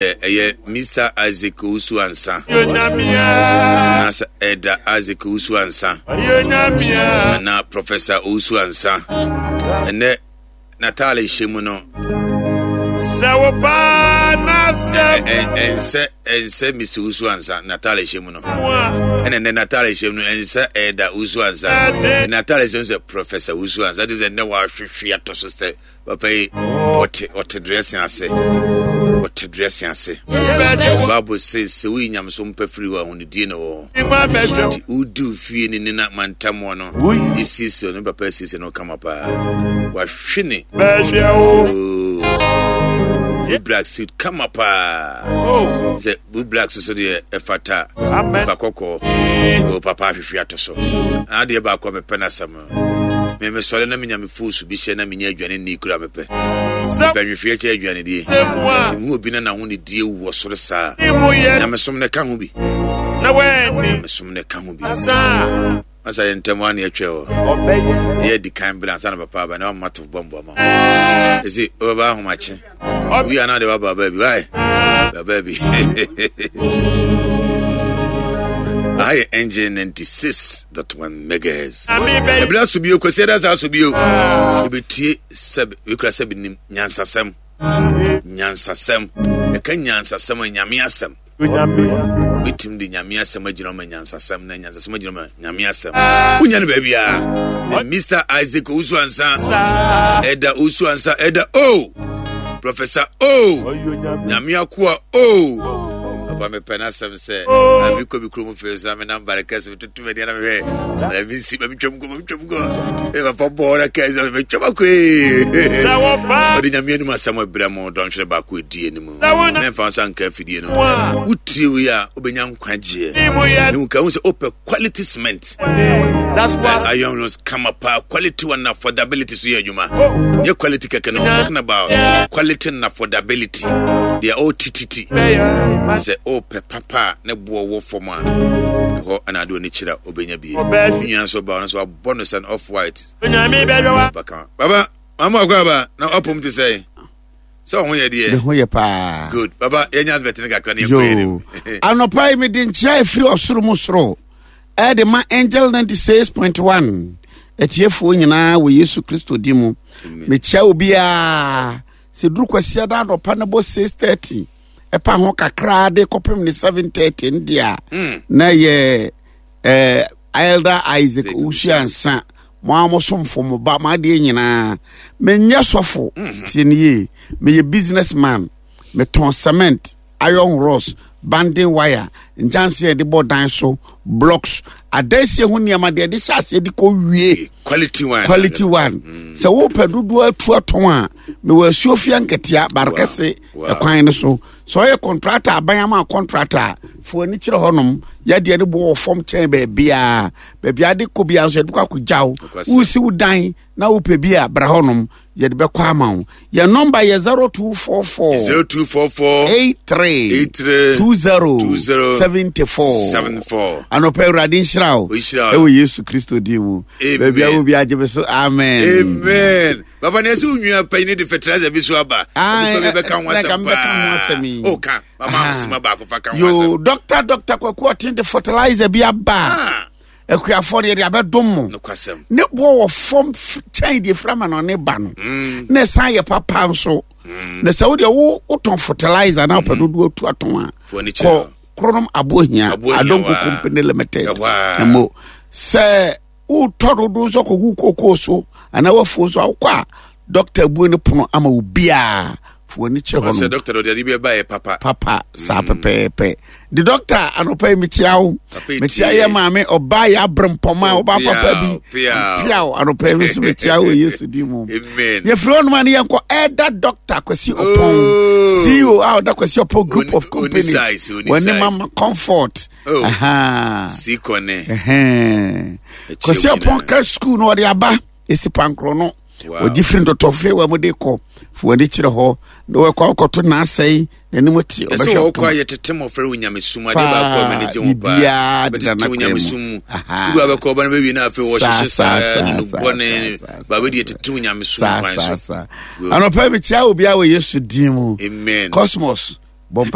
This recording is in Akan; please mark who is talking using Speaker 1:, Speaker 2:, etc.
Speaker 1: Ɛyɛ Mister Isaac Owusu Ansa anaasɛ Elder Isaac Owusu Ansa anaa Professor Owusu Ansa. Ɛnɛ n'ataare hyɛ mu no ɛnsɛ ɛnsɛ Mr. Owusu Ansa n'ataare hyɛ mu no ɛna ɛnɛ n'ataare hyɛ mu no ɛnsɛ Elder Owusu Ansa n'ataare hyɛ mu sɛ Professor Owusu Ansa ɛte sɛ ɛnɛ wahwehwe atɔ so sɛ Papa yi, ɔte ɔte dressing ase. Ɔte dressing ase. Bible says sɛ woyi nyamesom pɛ firi hɔ a ahonidie na wɔ hɔ. Nti wodi wo fie ne ne na mantam hɔ no, esiesie no papa esiesie no kama paa. Wahwe ne. Oh, black suit kama paa. Sɛ blue black soso deɛ ɛfata. Nipa kɔkɔɔ. Oh, papa ahwehwe ato so. Adeɛ baako a mepɛ n'asɛm. Me mesɔre na menya me foosu bi hyɛ na menya aduane nni kura mepɛ. Mepɛ nwehweɛ kyɛ aduane die. Mehu obi na n'aho ne die wɔ soro saa. Nyamesom no ka ho bi. Nyamesom no ka ho bi. Masa yɛ ntɛm a na yɛtwɛ hɔ. Yɛ adi kan bere ansa na papa aba na wama to bɔmbo ama. Ɛsi ɔbɛba ahomakye. Wi a na de waba baabi wae. Baba bi. Aha yɛ NJ 96.1 megahertz. Ɛbla so bio kwasi ɛda saa so bio. Ebetie sɛb wekura sɛb nim nyansasɛm. Nyansasɛm. Ɛka nyansasɛm a nyame asɛm. Wobɛtumi de nyame asɛm agyina ma nyansasɛm na nyansasɛm agyina ma nyame asɛm. Wonya no baabiara. Mr. Isaac Owusu Ansa, Ɛda Owusu Ansa, Ɛda O, Professor O, Nyame Akoa O. Papa mepɛ n'asɛm sɛ, na mekɔ me kurom fei so na menam bare kɛse metoto m'ani na mehwɛ, na mensi ma metwam kɔ ma metwam kɔ. Ɛ papa bɔɔ na kɛse metwam akɔ ee. Ɔde nyame anim asɛm abrɛ mo dɔnhwere baako ɛdi anim. Na mfa nsa nka afidie no. Wotie wei a wobɛnya nkwagyeɛ. Ne mu ka hu sɛ wopɛ quality cement. Iron rods kama paa quality one affordability so yɛ adwuma. Nyɛ quality kɛkɛ no, I'm talking about quality and affordability. They are all tititi. Sɛ wopɛ papa a ne boɔ wɔ fam a ɛhɔ ɛna ade w'ani kyerɛ a wobɛnya bie. Nua nso ba ɔno nso abɔ no sɛ off white. Baba, mama akɔ aba na ɔpom te sɛ. sɛ ɔho yɛ deɛ
Speaker 2: ne ho yɛ paa
Speaker 1: good baba yɛnya advert no kakra ne yɛnkɔ yɛ nim
Speaker 2: anɔpa yi mede nkyea ɛfiri ɔsoro mu soro ɛde ma angel 96.1 atiefoɔ nyinaa wɔ yesu kristo di mu mekyia obiara sɛ duru kwasia da anɔpa no bɔ 6:30 ɛpa ho kakraa de kɔpem ne 7:30 no deɛ a hmm. na yɛ eh, Elder Isaac Owusu Ansa mo a mo somfo mo ba mo adeɛ nyinaa menyɛ sɔfo mhm. tie ne yie meyɛ business man metɔn cement iron rods banding wire nkyɛnse a yɛde bɔ dan so blocks adansie ho nneɛma deɛ yɛde hyɛ aseɛ de kɔ wie
Speaker 1: quality one
Speaker 2: quality one mm. sɛ wopɛ dodoɔ atu atɔn a mewɔ asuo fia nketea barekɛse ɛkwan no so sɛ ɔyɛ kɔntrata aban ama kɔntrata a fo ani kyerɛ hɔnom yɛdeɛ no boɔ wɔ fam kyɛn baabiaa baabiaa de kɔ biaa nso yɛde kɔ akɔgya wo wosi wo dan na wopɛ bi a bra hɔnom yɛde bɛkɔ ama wo yɛn nɔmba yɛ 0244
Speaker 1: 0244
Speaker 2: 83
Speaker 1: 83
Speaker 2: 20
Speaker 1: 20
Speaker 2: 74
Speaker 1: 74
Speaker 2: anɔpa awurade nhyira wo
Speaker 1: Ɔnhyira wo.
Speaker 2: ɛwɔ yesu kristo din mu
Speaker 1: Amen.
Speaker 2: baabi a wo bi agye me so amen
Speaker 1: amen Papa na ɛsɛ onua panyin de fertilizer bi so aba.
Speaker 2: Ah,
Speaker 1: Nipa bi bɛka ho asɛm
Speaker 2: paa.
Speaker 1: O ka mama asoma baako fa ka ho
Speaker 2: Yo,
Speaker 1: asɛm.
Speaker 2: doctor doctor Kwaku Ɔten de fertilizer bi aba.
Speaker 1: Ah.
Speaker 2: Akuafoɔ deɛ de abɛdom mo.
Speaker 1: Nokwasɛm.
Speaker 2: Ne boɔ wɔ fam kyɛn deɛ fira ma na ɔne ba no.
Speaker 1: Mm.
Speaker 2: Na ɛsan yɛ papa nso.
Speaker 1: Mm.
Speaker 2: Na sɛ wo deɛ wo wotɔn fertilizer na wopɛ
Speaker 1: mm-hmm.
Speaker 2: dodoɔ atu atɔn a. Kɔ Kronom Abohia Adonko Company Limited. Ɛmo sɛ wotɔ dodo nso akɔgu kookoo so anaa wafuo nso awokɔ a dɔkta abue ne pono ama wo biaa fo w'ani kyerɛ hɔ
Speaker 1: no dɔkta ɔde ade bi ɛba yɛ papa
Speaker 2: papa saa mm. pɛpɛɛpɛ de dɔkta anɔpa yi mekyia wo mekyia yɛ maame ɔbaa yɛ abere mpɔma ɔbaa papa bi piaw anɔpa yi nso mekyia wo yesu di mu yɛfiri hɔ nom a ne yɛnkɔ ɛda dɔkta kwasi ɔpɔn oh. ceo a ɔda kwasi ɔpɔn group of companies wɔne mama comfort
Speaker 1: Oh, sikɔne.
Speaker 2: Kwasi Ɔpɔn Christ School no ɔde aba esi pankorɔ no. Ɔgye firi ntɔtɔfe wɔ mu de kɔ fo ani kyerɛ hɔ na wɔkɔ akɔto n'asɛe n'anim te
Speaker 1: ɔbɛhwɛ ɔpɔn. Ɛsɛ wɔkɔ ayɛ tete mmɔfra wɔ nyamesom adeɛ baako a m'ani gye ho paa. Deda na nyamesom mu. Sukuu abɛkɔ ɔba no bɛwie na afei wɔhyehyɛ saa ne no bɔne baabi deɛ tete nyamesom kwan so.
Speaker 2: Anɔpa mekyia obiara wɔ Yesu din mu.
Speaker 1: Amen.
Speaker 2: Cosmos.